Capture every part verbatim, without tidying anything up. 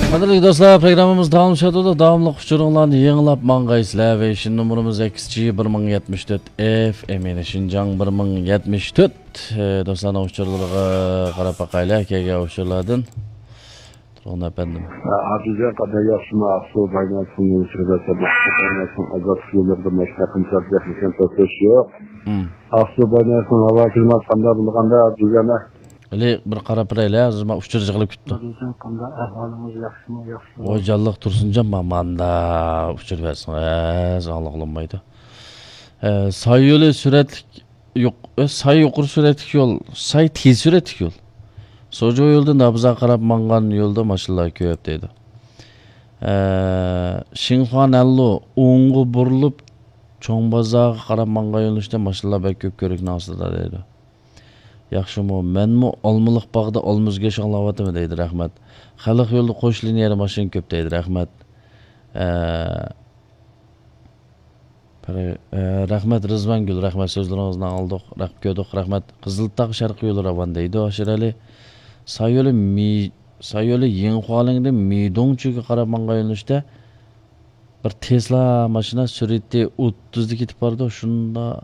قەدىرلىك دوستلار، پروگراممىمىز داۋاملىشىۋاتىدۇ. داۋاملىق ئۇچۇرۇڭلارنى يېڭىلاپ ماڭغايسىلەر. ۋېيشىن نومۇرىمىز ئەكس جى بىر مىڭ يەتمىش تۆت ئېف ئېم، يەنى شىنجاڭ بىر مىڭ يەتمىش تۆت. ئى، دوستلارنىڭ ئۇچۇرلىرىغا قاراپ باقايلى، كەلگەن ئۇچۇرلاردىن. تۇرغۇن ئەپەندىم. ئابدۇجان قانداق، ياخشىمۇ؟ ئاقسۇ بايناسنىڭ سۈرەتلىرى، بايناسنىڭ ئازادلىق يوللىرىدا ماشىنا قىمساپ ياخشىكەن، توختاش يوق. مم. ئاقسۇ بايناسنىڭ ھاۋا كىلىماتى قانداق، بۇنى قانداق ئابدۇجان؟ ھېلى بىر قاراپ بېرەيلى، ھازىر مانا ئۇچۇر يىغىلىپ كېتىپتۇ. ئابدۇجان قانداق، ئەھۋالىڭىز ياخشىمۇ؟ ياخشى. ۋاي جانلىق تۇرسۇنجان، ما-، ماندا ئۇچۇر بەرسىڭىز ئاڭلىغىلى بولمايدۇ. ئە، سايولى سۈرەتلىك يۇق-، ئە، ساي يۇقىرى سۈرئەتلىك يول، ساي تېز سۈرئەتلىك يول. سوجۇ يولىدىن نابىزاغا قاراپ ماڭغان يولدا ماشىنىلار كۆپ دەيدۇ. ئە، شىنخۇا نەنلۇ ئوڭغا بۇرۇلۇپ، چوڭ بازارغا قاراپ ماڭغان يۆنىلىشتە ماشىنىلار بەك كۆپ كۆۋرۈكنىڭ ئاستىدا دەيدۇ. ياخشىمۇ؟ مەنمۇ ئالمىلىق باغدا ئالما ئۈزگەچ ئاڭلاۋاتىمەن دەيدۇ، رەھمەت. خەلق يولىدا قوش لىنىيەدە ماشىنا كۆپ دەيدۇ، رەھمەت. ئە، پەرى-، ئە، رەھمەت رىزۋانگۈل، رەھمەت، سۆزلىرىڭىزنى ئاڭلىدۇق، رەھمەت كۆردۇق، رەھمەت. قىزىلتاغ شەرقىي يولى راۋان دەيدۇ، ئاشىر ئەلى. سايولى مى-، سايولى يىڭخۇالىڭدىن مىدوڭچۈگە قاراپ ماڭغان يۆنىلىشتە بىر تېسلا ماشىنا سۈرئىتى ئوتتۇزدا كېتىپ بارىدۇ، شۇندا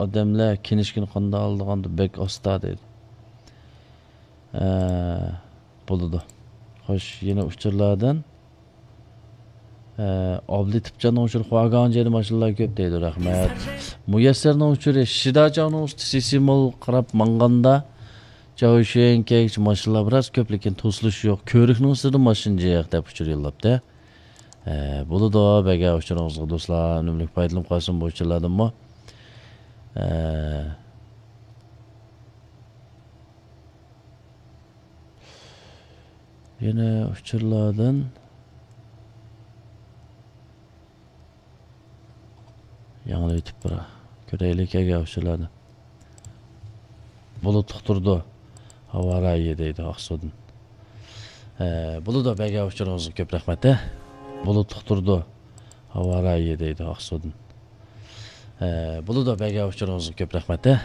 ئادەملەر كىنىشكىنى قانداق ئالىدىغاندۇ، بەك ئاستا دەيدۇ. ئە، بولىدۇ. خوش، يەنە ئۇچۇرلاردىن. ئە، ئابلىتىپجاننىڭ ئۇچۇرى خۇاگاڭجيەدە ماشىنىلار كۆپ دەيدۇ، رەھمەت. مۇيەسسەرنىڭ ئۇچۇرى شىداچاۋنىڭ ئۈستى سىسىمول قاراپ ماڭغاندا، چاۋشيەنگىچە ماشىنىلار بىراز كۆپ، لېكىن توسۇلۇش يوق. كۆۋرۈكنىڭ ئۈستىدە ماشىنا جىق دەپ ئۇچۇر يوللاپتۇ. ئە، بولىدۇ، بەرگەن ئۇچۇرىڭىزغا دوستلار، ئۈنۈملۈك پايدىلىنىپ قالسۇن بۇ ئۇچۇرلاردىنمۇ. ئە، يەنە ئۇچۇرلاردىن ياڭلىۋېتىپ بىر كۆرەيلى كەلگەن ئۇچۇرلارنى. بۇلۇتلۇق تۇرىدۇ، ھاۋا رايى دەيدۇ ئاقسۇدىن. ئە، بولىدۇ، بەرگەن ئۇچۇرىڭىزغا كۆپ رەھمەت، ھە. بۇلۇتلۇق تۇرىدۇ، ھاۋا رايى دەيدۇ ئاقسۇدىن. ئە، بولىدۇ، بەرگەن ئۇچۇرىڭىزغا كۆپ رەھمەت، ھە.